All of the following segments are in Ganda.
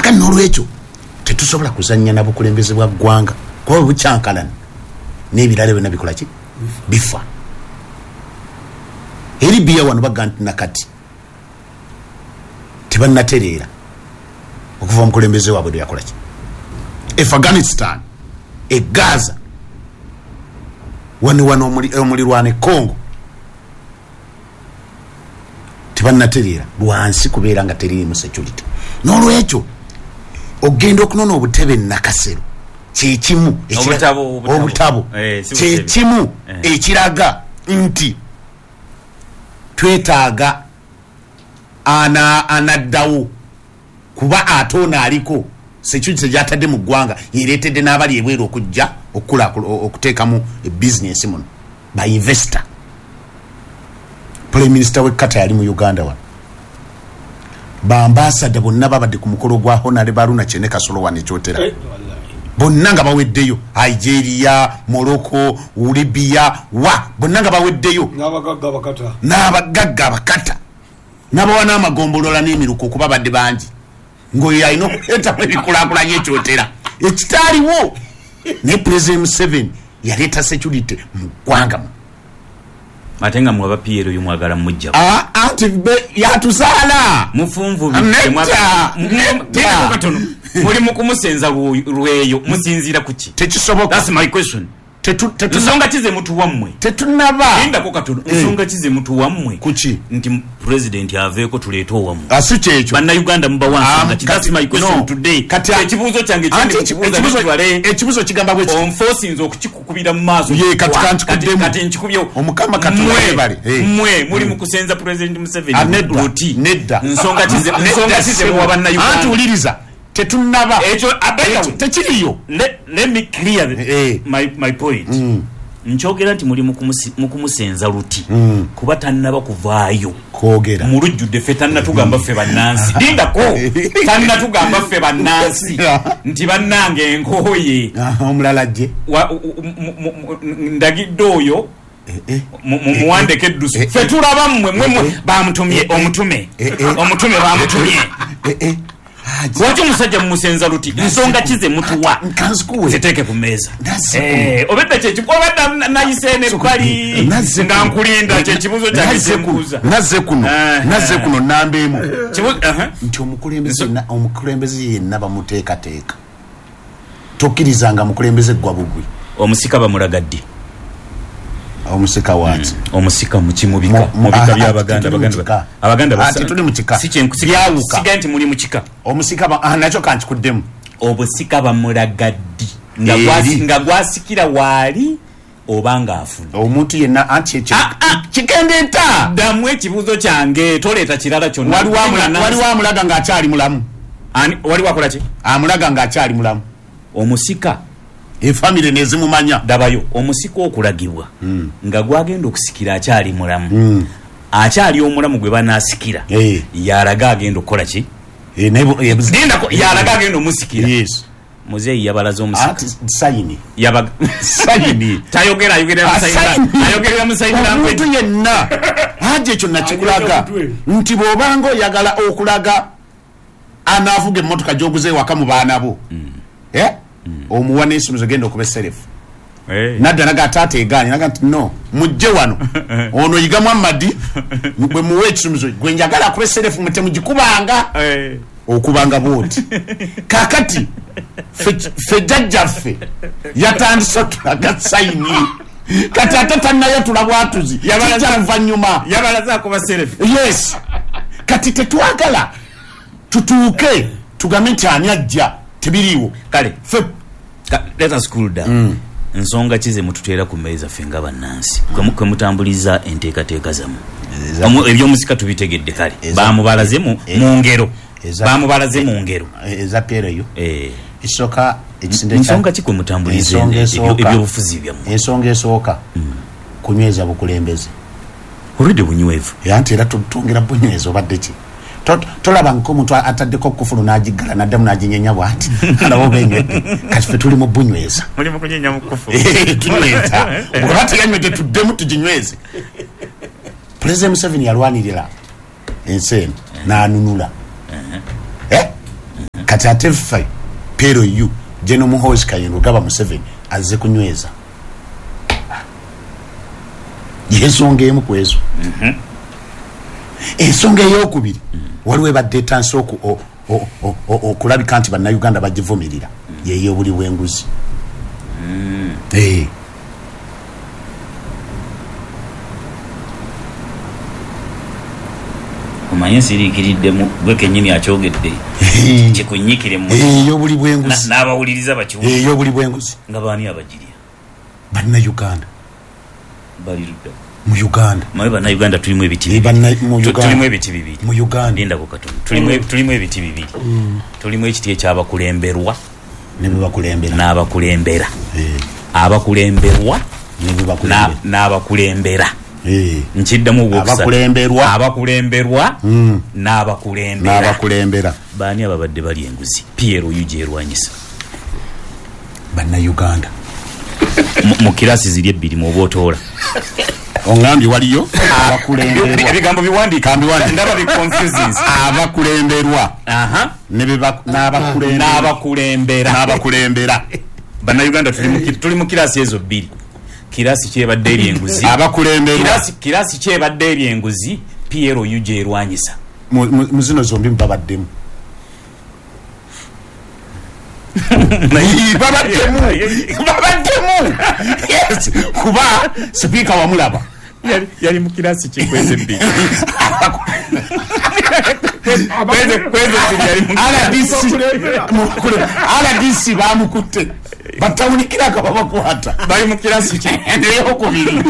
Kakati n'olwekyo tetusobola kuzannya na bukulembeze bwa ggwanga, kuba bwe bukyankalana n'ebirala byonna bikola ki? Bifa. E Libya wano baga nti nakati tebannatereera okuva omukulembeze waabwe lwe yakola ki? Afghanistan, e Gaza, wano wano omulirwano e Congo tebannatereera lwansi kubeera nga teriimu security. N'olwekyo ogenda okunona obutebe Nakasero kyekimu obutabo kyekimu ekiraga nti twetaaga anaddawo, kuba ate ono aliko security gyatadde mu ggwanga yereetedde n'abali ebweru okujja okuteekamu bizinesi muno ba investor. Prime Minister w'e Qatar yali mu Uganda wano, ba ambassador bonna babadde ku mukolo gwa Honorable Haruna Kyene Kasolo wano ekyotera, bonna nga baweddeyo. Algeria, Morocco, Libya, wa bonna nga baweddeyo, n'abagagga abakata n'abawa n'amagombolola n'emiruko okuba badde bangi, ng'oyo alina okuleetamu ebikulaakulanya ekyotera ekitaaliwo. Naye President Museveni yaleeta security mu ggwanga mu ate nga mwaba PLU oyo mwagala mujja anti yatuzaala mufunvubikatono muli mu kumusenza lweyo musinziira ku ki? Tekisoboka. That's my question. Nsonga ki ze mutuwa mmwe? Tetunaba. Lindako katono. Nsonga ki ze mutuwa mmwe? Kuki? Nti president aveeko tuleete owammwe. Si kyekyo. Bannayuganda mubawa nsonga ki? That's my question today. Kati ekibuuzo kyange ekibuuzo kigamba bwe kiti. Onfosinze okukikukubira mu maaso. Ye kati kankikuddemu. Kati nkikubyewo. Omukama Katonda yebale. Mmwe muli mu kusenza President Museveni luti. Nedda. Nsonga ki ze muwa Bannayuganda? Anti wuliriza. Tetunaba. Ekyo tekiriyo. Let me clear my point. Nkyogera nti muli mu kumusenza luti kuba tannaba kuvaayo kwogera mu lujjudde ffe tannatugamba ffe bannansi. Lindako, tannatugamba ffe bannansi nti bannange enkooye. Omulala ajje ndagidde oyo muwandeke eddusu. Ffe tulaba mmwe mmwe bamutumye omutume omutume bamutumye. Lwaki omusajja mumusenza luti? Nsonga ki ze mutuwa? Ziteeke ku mmeeza. Obedda obadda nayise n'ebbali nga nkulinda kyekibuuzo kyange kyembuuza. Nazze kuno nnamba emu nti omukulembeze yenna bamuteekateeka. Tokkirizanga mukulembeze gwa bugwi. Omusika bamulaga ddi? Omusika waaki? Omusika mubika mubika by'Abaganda. Abaganda tetuli mu kika. Byawuka. Siga nti muli mu kika. Omusika nakyo kankikuddemu. Obusika bamulaga ddi? Nga gwasikira waali oba ng'afudde? Omuntu yenna anti ekyo kigenda. Ddamu ekibuuzo kyange, toleeta kirala kyonna. Waliwo amulaga ng'akyali mulamu. Waliwo akola ki? Amulaga ng'akyali mulamu. Omusika efamire nezimumanya. Dabayo omusika okulagibwa nga gwagenda okusikira akyali mulamu. Akyali omulamu gwe banaasikira yalaga agenda okukola ki? Lindako, yalaga agenda omusikira. Muzeeyi yabalaze omusika. Sayini. Sayini. Tayogera, ayogerera musayini. Omuntu yenna haja ekyo nakikulaga nti bw'obanga oyagala okulaga anaavuga emmotoka gy'oguze ewaka mu baana bo. Omuwa n'ensumizo genda okuba eserefu. Nadda naga taata egaanye naga nti no mujje wano ono yiga Muhammad bwe muwe ekisumizo gwe njagala akuba eserefu mute mugikubanga okubanga bwoti. Kakati ffe jjajjaffe yatandise otulaga sayini. Kati ate tannayatula bwatuzi kijja luvannyuma. Yabalaze akuba serefu. Yes. Kati tetwagala tutuuke tugambe nti ani ajja tebiriiwo. Kale let us cool down. Nsonga ki ze mututeera ku mmeeza ffe nga bannansi kwe mutambuliza enteekateeka zammwe? Ebyomusika tubitegedde kale. Bamubalaze mu ngero. Bamubalaze mu ngero. Eza PLU. Esooka ekisinde kya nsonga ki kwe mutambuliza ebyobufuzi byammwe? Ensonga esooka kunyweza bukulembeze. Olwedde bunywevu. Anti era twongera bunyweza obadde ki? Tolaba nk'omuntu ataddeko kufulu n'agiggala n'addamu n'aginyenya bw'ati alaba oba enywedde. Kati ffe tuli mu bunyweza. Muli mu kunyenya mu kufulu. Tunyweza. Bw'oba teyanywedde tuddemu tuginyweze. President Museveni yalwanirira ensi eno n'anunula. Kati Kati ate ffe PLU General Muhoozi Kainerugaba Museveni azze kunyweza yensonga emu ku ezo. Ensonga eyokubiri, waliwo ebadde etandise okulabika nti Bannayuganda bagivumirira, yey'obuli bw'enguzi. Omanyi nsiriikiriddemu, gwe kennyini akyogedde, kikunyikire mu Ey'obuli bw'enguzi. N'abawuliriza bakiwulire. Ey'obuli bw'enguzi. Nga baani abagirya? Bannayuganda. Bali ludda? Mu Uganda. Mawe Bannayuganda tulimu ebiti bibiri. Mu Uganda. Tulimu ebiti bibiri. Mu Uganda. Lindako katono. Tulimu ebiti bibiri. Tulimu ekiti ekyabakulemberwa ne bebakulembera. N'abakulembera. Abakulemberwa Ne bebakulembera. N'abakulembera. Nkiddamu ogwokusatu. Abakulemberwa. Abakulemberwa n'abakulembera. N'abakulembera. Baani ababadde bali enguzi? PLU gyerwanyisa. Bannayuganda. Mu kirasi ziri ebbiri mw'oba otoola. Ongambye waliyo abakulemberwa. Ebigambo biwandiike. Kambiwandiike. Ndaba bi confusings. Abakulemberwa. Ne n'abakulembera. N'abakulembera. N'abakulembera. Bannayuganda tuli mu kirasi ezo bbiri. Kirasi kyebadde eri enguzi. Abakulemberwa. Kirasi kyebadde eri enguzi PLU gyerwanyisa. Mu zino zombi babaddemu. Babaddemu. Babaddemu. Yes. Kuba sipiika wamulaba. Yali mu kirasi kikweze bbiri. Kweze yali mu RDC. RDC bamukutte. Batawunikira nga babakwata. Bali mu kirasi ki? Eyokubiri.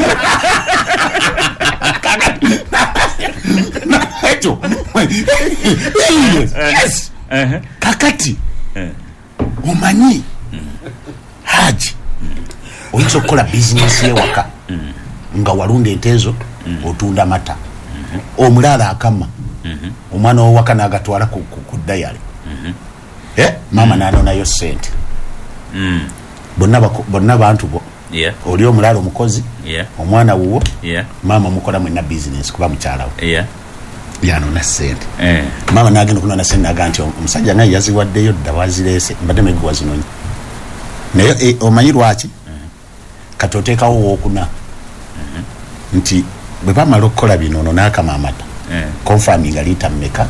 Ekyo. Yes. Kakati. Omanyi Haji oyinza okukola bizinesi y'ewaka nga walunda ente ezo, otunda mata, omulaala akama omwana w'owaka n'agatwala ku dayale, maama n'anonayo ssente. Bonna bantu bo. Oli omulaala omukozi, omwana wuwo, maama mukola mwenna bizinesi kuba mukyala we. Yanona ssente. Maama n'agenda okunona ssente n'agamba nti omusajja naye yaziwaddeyo dda, wazireese, mbadde manyi gwe wazinonye. Naye omanyi lwaki? Kati oteekawo wookuna nti bwe bamala okukola bino, ono n'akama amata, confirming liita mmeka,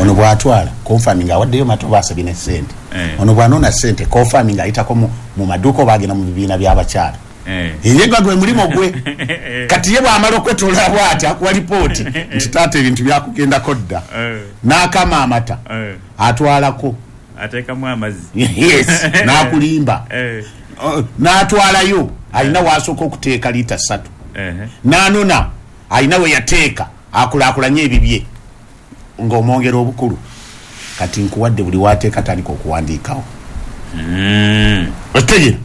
ono bw'atwala confirming awaddeyo mata oba asabye ne ssente, ono bw'anona ssente confirming ayitako mu maduuka oba agenda mu bibiina by'abakyala. Ye gwa gwe mulimu gwe. Kati ye bw'amala okwetoloola bw'ati akuwa lipooti nti taata ebintu byakugendako dda. N'akama amata, atwalako. Ateekamu amazzi. Yes, n'akulimba. N'atwalayo alina w'asooka okuteeka liita 3. N'anona alina we yateeka akulaakulanye ebibye ng'omwongera obukulu. Kati nkuwadde buli w'ateeka tandika okuwandiikawo. Otegeera?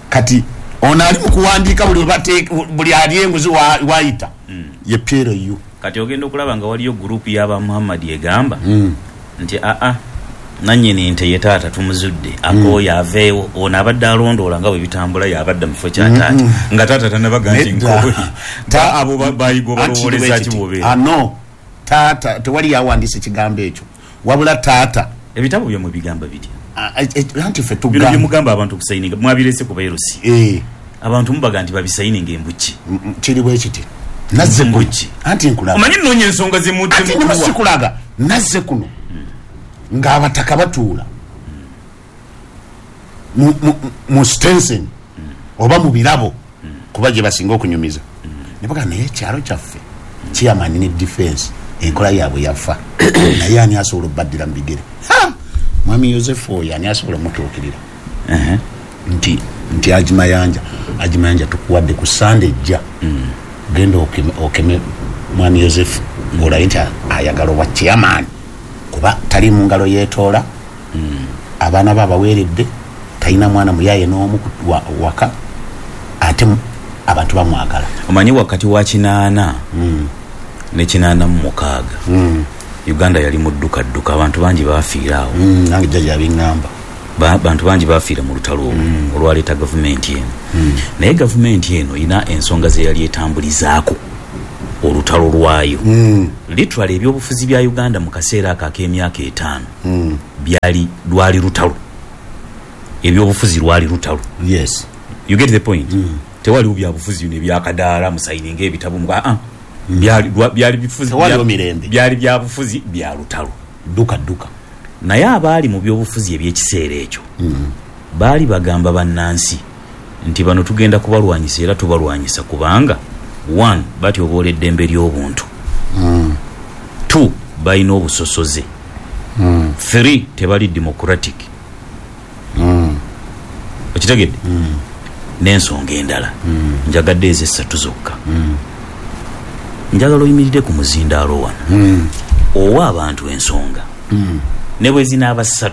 Kati ono ali mu kuwandiika buli ali enguzi wayita ye PLU. Kati ogenda okulaba nga waliyo gurupu y'aba Muhammad egamba nti aa nannyini nte ye taata tumuzudde, akooye aveewo, ono abadde alondoola nga bwe bitambula y'abadde mu kifo kya taata nga taata tannabaga nti nkooye. Abo bayiga obalowooleza ki bw'obeera? No, taata tewali yawandiise kigambo ekyo, wabula taata ebitabo byammwe bigamba bitya? Anti ffe Bino tugamba bye mugamba abantu okusayininga mwabirese ku bairusi. Abantu mubaga nti babisayininga embuki. Kiri bwe kiti. Nazze kuno. Mbuki. Anti nkulaga. Omanyi nnoonya ensonga ze mudde Anti mukuwa. sikulaga. Nazze kuno. Ng'abataka batuula mu Stenson oba mu birabo kuba gye basinga okunyumiza. Ne bagamba naye ekyalo kyaffe chairman ne defense enkola yaabwe yafa. Naye ani asobola okubaddira mu bigere? Ha! Mwami Yosefu oyo ani asobola omutuukirira? Nti Haji Mayanja tukuwadde ku Sande ejja. Genda okeme Mwami Yosefu ng'olabe nti ayagala obwa chairman kuba tali mu ngalo yeetoola, abaana be abaweeredde, talina mwana muyaaye n'omu waka, ate abantu bamwagala. Omanyi wakati wa 80 ne 86 Uganda yali mu ddukadduka, abantu bangi baafiira awo. Nange jjajja yabiŋŋamba. Bantu bangi baafiira mu lutalo olwo olwaleeta gavumenti eno. Naye gavumenti eno erina ensonga ze yali etambulizaako. Olutalo lwayo, literally ebyobufuzi bya Uganda mu kaseera ako ak'emyaka 5 byali, lwali lutalo. Ebyobufuzi lwali lutalo. You get the point? Tewaliwo byabufuzi bino ebyakadaala, musayininga ebitabo, byali bifuzi. Tewaliwo mirembe. Byali byabufuzi bya lutalo. Dduka dduka. Naye abaali mu byobufuzi ebyekiseera ekyo baali bagamba bannansi nti bano tugenda kubalwanyisa, era tubalwanyisa kubanga 1, batyoboola eddembe ly'obuntu, 2, balina obusosoze, 3, tebali democratic. Okitegedde? N'ensonga endala. Njagadde ezo 3 zokka. Njagala oyimirire ku muzindaalo wano, owa abantu ensonga ne bwe zinaaba 3,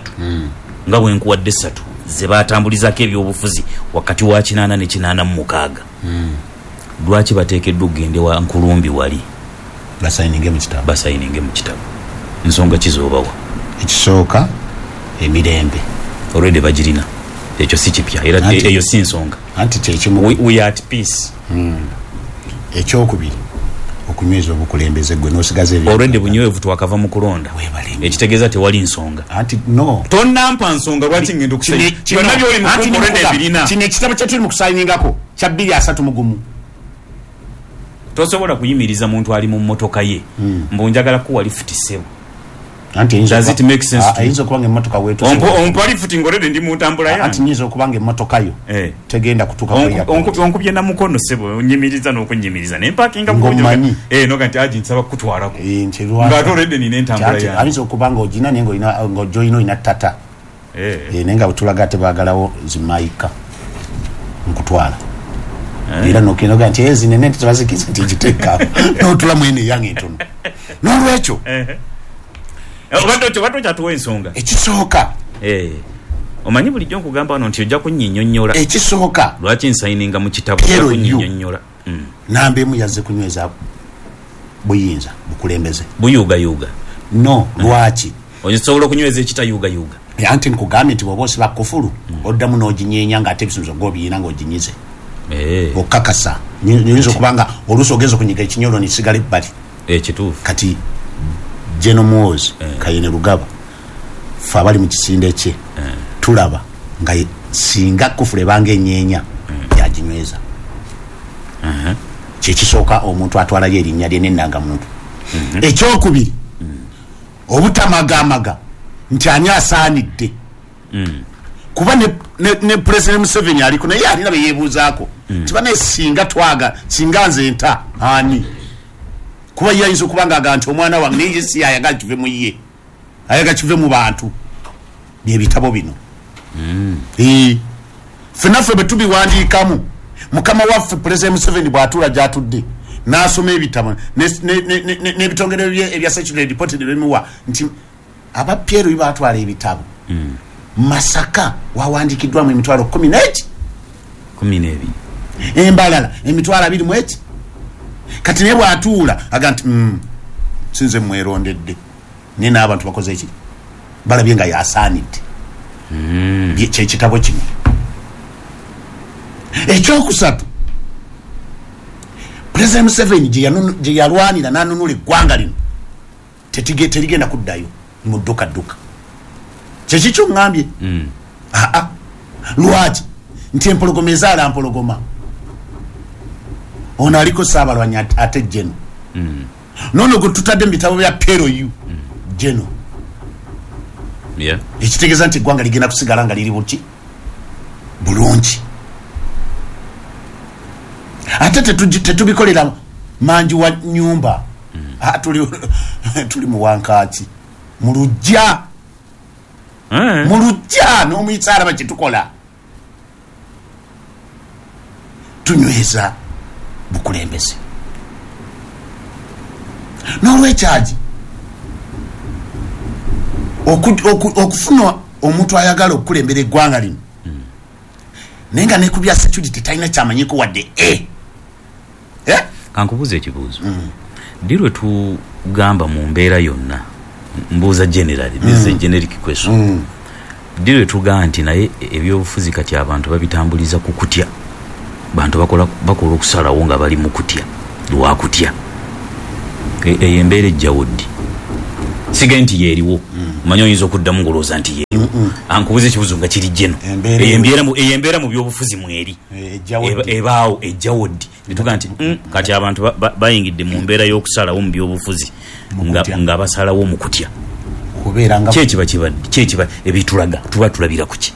nga bwe nkuwadde 3 ze batambulizaako ebyobufuzi wakati wa 80 ne 86, lwaki bateekeddwa okugenda wa Nkulumbi wali basayininge mu kitabo? Basayininge mu kitabo. Nsonga ki z'obawa? Ekisooka, emirembe. Already bagirina, ekyo si kipya, era eyo si nsonga. Anti kyekimu. We are at peace. Ekyokubiri, okunyweza obukulembeze gwe n'osigaza ebyo. Already bunywevu, twakava mu kulonda. Weebale nnyo. Ekitegeeza tewali nsonga. Anti no. Tonnampa nsonga lwaki ngenda okusayina. Byonna by'oli mu Anti kumpa already nimukugamba, ebirina. Kino ekitabo kye tuli mu kusayiningako kya 231. Tosobola kuyimiriza muntu ali mu mmotoka ye mbu njagala kuwa lifuti, ssebo. Anti eyinza Does it make sense to you? Ayinza okuba nga emmotoka weetuuse. Ompa lifuti ng'already ndi mu ntambula yange. Anti nyinza okuba nga emmotoka yo tegenda kutuuka ku airport. Onkubye na mukono, ssebo, onyimiriza n'okunnyimiriza ne mpakinga Ng'omanyi. Noga nti aji nsaba kukutwalako. Nti lwaki? Ng'ate already nina entambula Anti yange. ayinza okuba ng'ogina naye ng'ojoyina olina tata. Naye nga bwe tulaga tebaagalawo zimayika nkutwala. Era n'okenda ogaa nti zinene nti tebazikiza nti giteeka n'otula mwene eyange entono. N'olwekyo Obadde okyatuwa ensonga. Ekisooka. Omanyi bulijjo nkugamba wano nti ojja kunnyinnyonnyola. Ekisooka. Lwaki nsayininga mu kitabo? Ojja Piero Yu. kunnyinnyonnyola. Namba emu, yazze kunyweza buyinza, bukulembeze. Buyuugayuuga. No, lwaki? Osobola okunyweza ekitayuugayuuga? Anti nkugambye nti bw'oba osiba kufulu, oddamu n'oginyeenya ng'ate ebisuubizo g'obiyina ng'oginyize. Okakasa. Nyinza okuba nga oluusi ogenza okunyiga ekinyolo nekisigala ebbali. Kituufu. Kati General Muhoozi Kainerugaba, ffe abali mu kisinde kye tulaba nga singa kufulu ebanga enyeenya, yaginyweza. Kyekisooka, omuntu atwalayo erinnya lye n'ennangamuntu. Ekyokubiri, obutamagamaga nti ani asaanidde, kuba ne President Museveni aliko naye alina be yeebuuzaako tiba naye singa twaga singa nze nta ani, kuba ye ayinza okuba nga agamba nti omwana wange, naye ye si ayagala kive mu ye, ayagala kive mu bantu. Byebitabo bino. Ffenna ffe bwe tubiwandiikamu, mukama waffe President Museveni bw'atuula gy'atudde n'asoma ebitabo n'ebitongole bye ebya security report ne bimuwa nti aba Piero batwala ebitabo, Masaka wawandiikiddwamu emitwalo kumi n'eki? 12. Embalala emitwalo abiri mu eki. Kati naye bw'atuula aga nti sinze mwerondedde, naye n'abantu bakoze eki, balabye nga yasaanidde. Kyekitabo kino. Ekyokusatu, President Museveni gye yalwanira n'anunula eggwanga lino terigenda kuddayo mu dduka dduka. Kyekikyo ŋŋambye? Aa, lwaki nti empologoma ezaala mpologoma? Ono aliko Ssaabalwanyi ate Geno nono gwe tutadde mu bitabo bya PLU Geno, ekitegeeza nti eggwanga ligenda kusigala nga liri buki bulungi. Ate tetubikolera manji wa nyumba. Ah, tuli mu wankaaki, mu lujja, mu lujja n'omuyisa alaba kyetukola. Tunyweza bukulembeze. N'olwekyagi okufuna omuntu ayagala okukulembera eggwanga lino, naye nga ne ku bya security talina kyamanyiko wadde. Eh? Kankubuuza ekibuuzo. Ddi lwe tugamba mu mbeera yonna, mbuuza generally, this is a generic question, ddi lwe tugamba nti naye ebyobufuzi kati abantu babitambuliza ku kutya, bantu bakola okusalawo nga bali mu kutya, lwakutya? Eyo embeera ejjawo ddi? Sigaye nti yeeriwo. Omanyi oyinza okuddamu ng'olowooza nti yeeriwo. Ankubuza ekibuuzo nga kiri jeno. Eyo embeera mu byobufuzi mweri ebaawo ejjawo ddi? Netuga nti kati abantu bayingidde mu mbeera y'okusalawo mu byobufuzi nga basalawo mu kutya. Kyekiba kibadde, kyekiba ebitulaga tuba tulabira ku ki?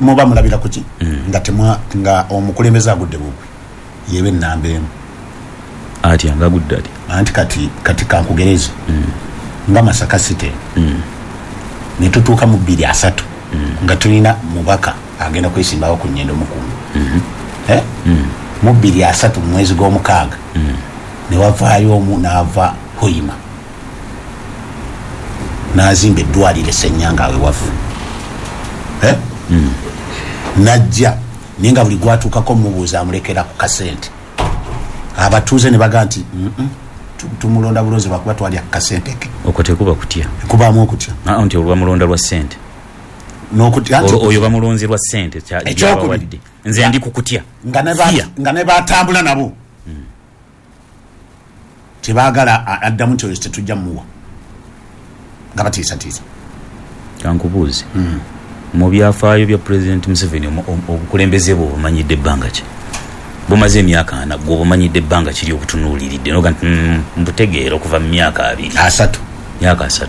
Muba mulabira ku ki? Nga omukulembeze agudde bugwi yebe ennamba emu. Atya nga agudde atya? Anti kati kankugereze nga Masaka City ne tutuuka mu 2030 nga tulina mubaka agenda kwesimbawo ku Nyendo Mukumbi. Mu 2030 mu mwezi gw'omukaaga ne wavaayo omu n'ava Hoima n'azimba eddwaliro e Ssennyanga awe waffe. Najja naye nga buli gwatuukako mubuuza amulekera ku kasente. Abatuuze ne bagamba nti tumulonda bulonzi lwakuba twalya ku kasente ke. Okwo tekuba kutya. Kubaamu okutya. Nti olwo bamulonda lwa ssente. Oyo bamulonze lwa ssente kyabawadde. Nze ndi ku kutya. Nga ne batambula nabo. Tebaagala addamu nti oyo tetujja muwa. Nga batiisatiisa. Kankubuuze. Mu byafaayo bya Pulezidenti Museveni obukulembeze bwe obumanyidde ebbanga ki? Bumaze emyaka 40 gwe obumanyidde ebbanga kiri obutunuuliridde noga nti mbutegeera okuva mu myaka 2. 3. Myaka 3.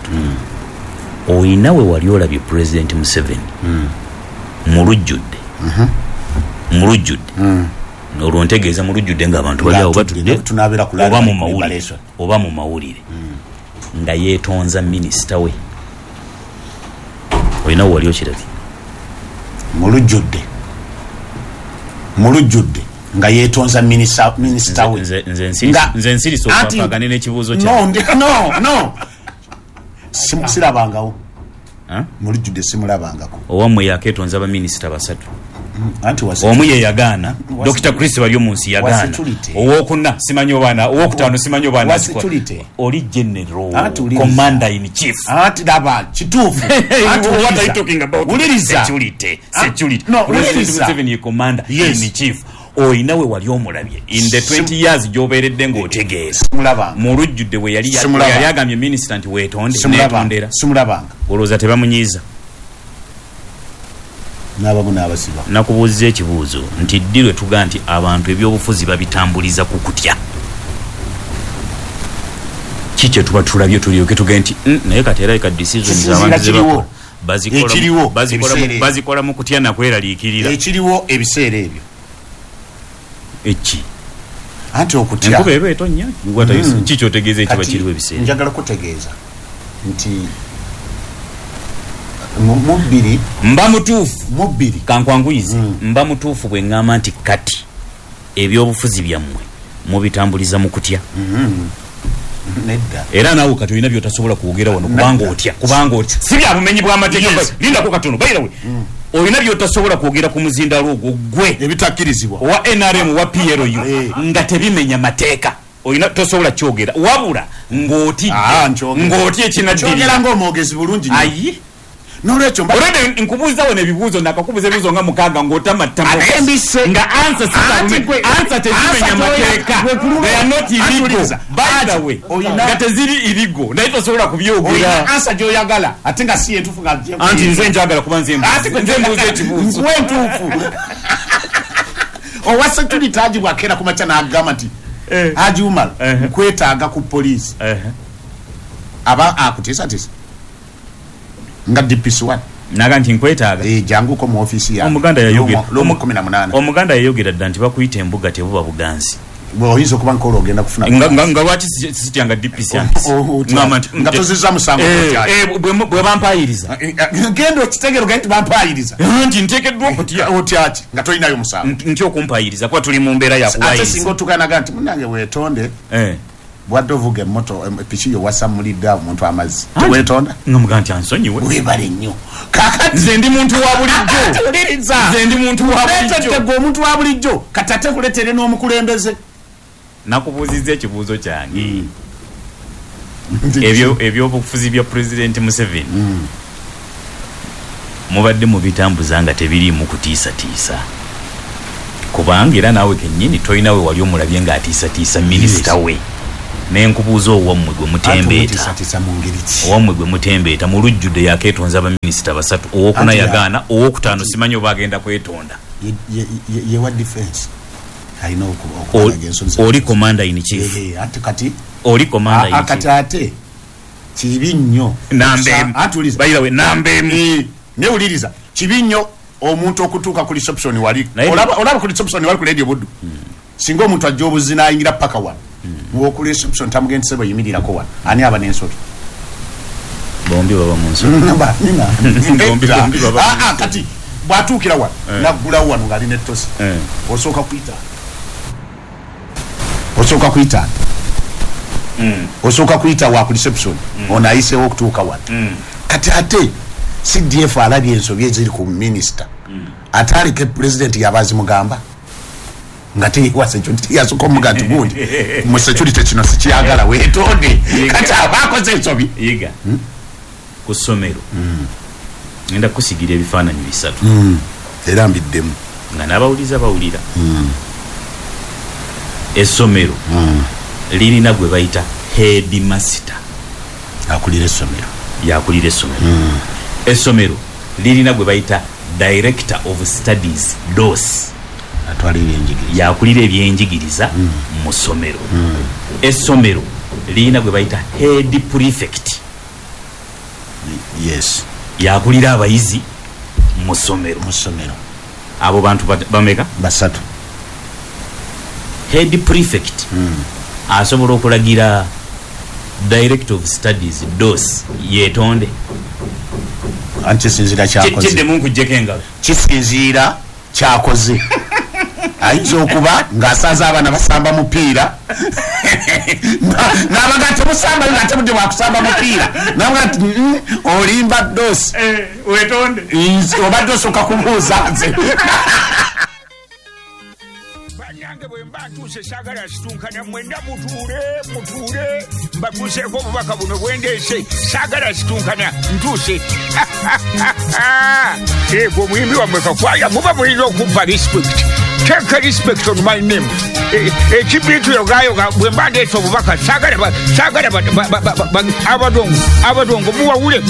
Oyina we wali olabye Pulezidenti Museveni mu lujjudde. Mu lujjudde. Olwo ntegeeza mu lujjudde ng'abantu bali awo batudde oba mu mawulire nga yeetonza minisita we. Oyina we wali okirabye? Mu lujjudde. Mu lujjudde nga yeetonza minisita we. Nze nsirise okupampagane n'ekibuuzo kyange. No. Sirabangawo. Mu lujjudde simulabangako. Owammwe yakeetonza baminisita 3. Omu ye yagaana, Dr. Chris Baryomunsi yagaana. Owokuna simanyi obaana, owokutaano simanyi obaana. Oli general, commander in chief. Anti daba kituufu. What are you talking about? Security. Security. No, President Museveni ye commander in chief. Oyina we wali omulabye in the 20 years gy'obeeredde ng'otegeera. Mu lujjudde we yali agambye minisita nti weetonde, neetondera. Simulabanga. Olowooza tebamunyiiza? N'abamu n'abasiba. Nakubuuziza ekibuuzo nti ddi lwe tuga nti abantu ebyobufuzi babitambuliza ku kutya? Ki kye tuba tulabye tulyoke tuge nti naye kati era ka decisions abantu ze bakola bazikola mu kutya na kweraliikirira. Ekiriwo ebiseera ebyo. Eki? Anti okutya. Enkuba eba etonnya. Ki ky'otegeeza ekiba kiriwo ebiseera? Njagala kutegeeza nti mubiri mba mutuufu. Mubiri kankwanguyize. Mba mutuufu bwe ŋŋamba nti kati ebyobufuzi byammwe mubitambuliza mu kutya. Nedda. Era naawe kati olina by'otasobola kwogera wano kubanga otya. Kubanga otya. Si bya bumenyi bw'amateeka. Lindako katono. By the way, olina by'otasobola kwogera ku muzindalo ogwo gwe ebitakkirizibwa owa NRM owa PLU nga tebimenya mateeka. Olina tosobola kyogera wabula ng'otidde ng'otya ekinaddirira. Kyogera ng'omwogezi bulungi nnyo. Ayi. Nolwekyo olwedde nkubuuza wano ebibuuzo nakakubuuza ebibuuzo nga 6 ng'otamattama nga answer tezimenya mateeka. They are not illegal. By the way, nga teziri illegal naye tosobola kubyogera. Answer gy'oyagala ate nga si entuufu nga anti nze njagala kuba nze mbuuza ekibuuzo. Nkuwa entuufu. Owa security Haji bw'akeera ku makya n'agamba nti Haji Umar nkwetaaga ku poliisi. Aba akutiisatiisa. Nga DPC1 naga nti nkwetaaga janguko mu office ya Omuganda yayogera lomu 18. Omuganda yayogera dda nti bakuyita embuga tebuba buganzi. Oyinza okuba nkola ogenda kufuna nga lwaki sityanga DPC ngamba nti nga tozizza musango bwe bampayiriza genda okitegeera ogende nti bampayiriza nti nteekeddwa okutya otya ki nga tolinayo musango nti okumpayiriza kuba tuli mu mbeera yakuwayiriza ate singa otuukanaga nti munnange weetonde bwadde ovuga emmoto epiki yo wasamulidde omuntu amazzi teweetonda nomuga nti ansonyiwe webale nnyo kakati nze ndi muntu wa bulijjo nze ndi muntu wa bulijjo gwe omuntu wa bulijjo kati ate kuleetere n'omukulembeze. Nakubuuzizza ekibuuzo kyange ebyobufuzi bya Pulezidenti Museveni mubadde mubitambuza nga tebiriimu kutiisatiisa kubanga era naawe kennyini tolina we wali omulabye ng'atiisatiisa minisita we. Nenkubuuza owammwe gwe mutembeeta, owammwe gwe mutembeeta mu lujjudde yakeetonza abaminisita basatu, owokuna yagaana, owokutaano simanyi oba agenda kwetonda. Yewa defense alina oli commander in chief. Kati oli commander in chief. Kati ate kibi nnyo namba emu newuliriza kibi nnyo omuntu okutuuka ku reception wali olaba ku reception wali ku Radio Buddu. Singa omuntu ajja obuzina ayingira paka wano woku reception tamugenda sebo yimirirako wano, ani aba n'ensobi? Bombi baba mu nsobi. Bombi baba. Kati bwatuukira wano naggulawo wano ng'alina ettosi, osooka kuyita, osooka kuyita, osooka kuyita wa ku reception, ono ayiseewo okutuuka wano. Kati ate CDF alabye ensobi eziri ku minisita, ate aleke pulezidenti yaba azimugamba nga teyewa security, yasooka omuga nti gundi mu security kino sikyagala weetonde. Kati aba akoze ensobi. Yiga ku ssomero ngenda kusigira ebifaananyi bisatu era mbiddemu nga n'abawuliza bawulira. Essomero lirina gwe bayita headmaster, akulira essomero, yakulira essomero. Essomero lirina gwe bayita director of studies, DOS, atwala ebyenjigiriza, yakulira ebyenjigiriza mu ssomero. Essomero lirina gwe bayita head prefect, yes, yakulira abayizi mu ssomero. Mu ssomero abo bantu bameka? Basatu. Head prefect asobola okulagira director of studies, DOS, yeetonde. Anti kisinziira kyakoze, kiddemu nkuggyeko engalo, kisinziira kyakoze. Ayinza okuba ng'asanze abaana basamba mupiira n'abaga temusamba nga tebudde bwakusamba mupiira, nabaga nti olimba DOS, weetonde, obadde osooka kubuuza nze. Bannange bwe mba ntuuse saagala situnkana, mwenda mutuule mutuule mbatuuseeko obubaka buno bwendeese, saagala situnkana ntuuse. Ego omuyimbi wammwe Kakwaya muba mulina okumpa respect. Take respect on my name. Ekibiitu yogayoga bwe mba ndeese obubaka saagala abadongo muwawule.